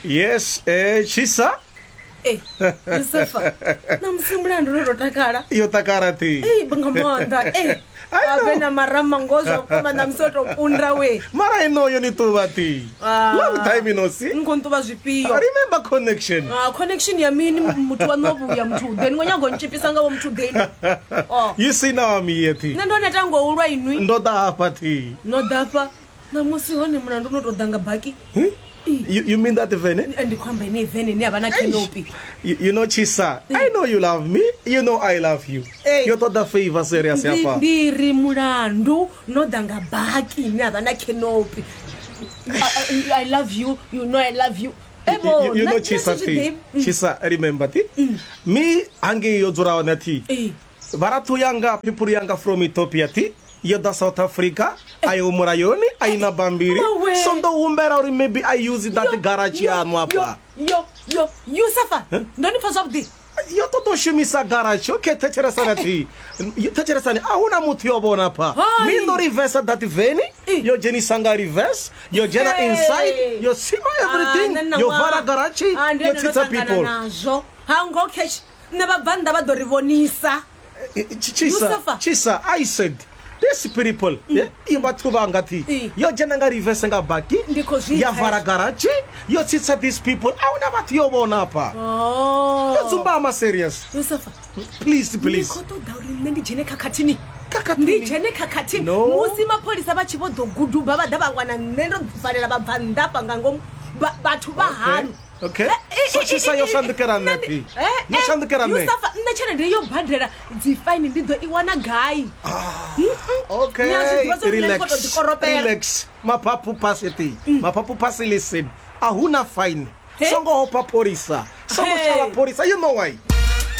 Yes, Tshisa. Eh, Yusufa, ṋamusi mulandu no to takala. Yo takala thi. Ei, nga maanḓa. Eh, I know. ave na marama ngo zwa vhukuma ṋamusi o to kunda we. Mara ino yo ni ṱuvha thi. Ah. Long time no see. Ni khou nṱuvha zwifhio? Remember connection. Ah, connection ya mini muthu wa no vhuya muthu ḓeni ngo nyago ntshipisa nga vho muthu ḓeni. Oh. You see now I'm here thi. Nṋe ndo neta ngo ulwa inwi. Ndo ḓa hafha thi. No ḓafha. Ṋamusi hone mulandu no to ḓa nga baki. You, you mean that vene? Ndi khou amba ine vene ine ya vha na canopy. You know Chisa, I know you love me. You know I love you. Hey. Yo ṱoḓa favor serious Ndi hafha. ndi ri mulandu no ḓa nga baki ine ya vha na canopy. I love you, you know I love you. Evo, You, you know nṋe Chisa thi zwi thi. ḓivhi. Chisa remember thi. Me hangei yo dzula hone thi. Ee. Vharathu yanga people yanga from Ethiopia thi yo ḓa South Africa a iho mulayoni a ina bambiri Mawe. so ndo humbela uri maybe I use that garage yaṋu afha Yo, yo, Yusufa, ndo ni pfa zwavhuḓi. Yo ṱoḓa u shumisa garage. Okay, thetshelesani thi. Thetshelesani, a huna muthu yo vhona pha. Hai. Mi ndo reverse that van, yo dzhenisa nga reverse, yo dzhena Hey. inside, yo tsima everything, Ah, nṋe na yo ṅwaha. vala garage, Ah, ndi yo ene ndo tsitsa ṱangana people. nazwo. Ha ngo catch nṋe vhabvannḓa vha ḓo ri vhonisa. Chisa, Yusufa. Chisa, I said these people, yeah, i vhathu vhanga thi. Yo dzhena nga reverse nga baki, Ndi khou zwi ya pfa vala hezwo. garage, yo tsitsa these people. A huna vhathu yo vhona hafha. Oh. Yo dzumbama serious. Yusufa, Please, ndi please. khou ṱoḓa uri nṋe ndi dzhene khakhathini. Khakhathini? Ndi dzhene khakhathini. No. Musi mapholisa vha tshi vho ḓo guduba vha ḓa vha wana nṋe ndo valela vhabvannḓa hafha nga ngomu. Vhathu vha haṋu. Okay. So Chisa yo shandukela nṋe thi. Yo shandukela nṋe. Yusufa, nṋe tshelede yo badela dzi faini ndi ḓo i wana gai? Okay. Ni a zwi ḓivha zwa uri nṋe ndi khou tou Relax. ḓikoropela. Relax. Maphaphu phasi thi. Maphaphu phasi listen. A huna fine. He? Songo hopha pholisa. Songo Hey. shavha pholisa. You know why?